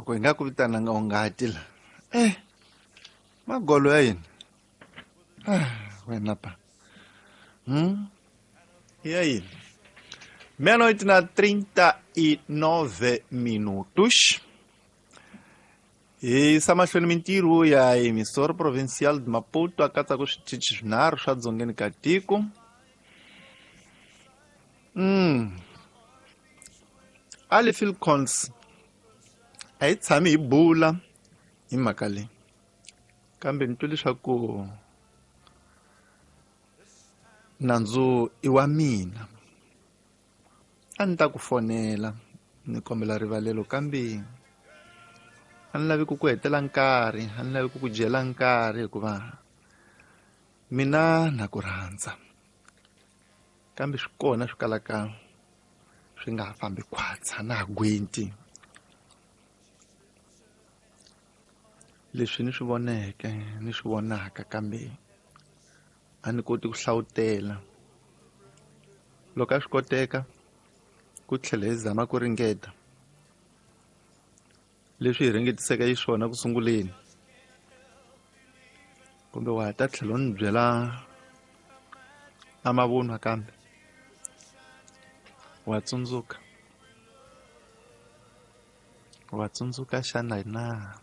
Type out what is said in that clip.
Loko hi nga ku vitananga u nga ti la. Eh, magolo ya yini? Ah, wena pa. Ya yini? Meia-noite na 39 minutos. Hi yisa mahlweni mintirho ya Emissora Provincial de Maputo a katsaka switichi swinharhu swa dzongeni ka tiko. Ali Philcons a yi tshami hi bula hi mhaka leyi, kambe ni twe leswaku nandzu i wa mina. A ni ta ku fonela ni kombela rivalelo, kambe a ni lavi ku ku hetela nkarhi, a ni lavi ku ku dyela nkarhi, hikuva mina na ku rhandza, kambe swi kona swi kalaka swi nga ha fambi khwatsa na ha gwenti. Leswi ni swi voneke ni swi vonaka, kambe a ni koti ku hlawutela. Loko a swi koteka ku tlhela hi zama ku ringeta leswi hi ringetiseke xiswona ku sunguleni, kumbe wa ha ta tlhela u ni byela a mavunwa kambe wa tsundzuka, wa tsundzuka xana na?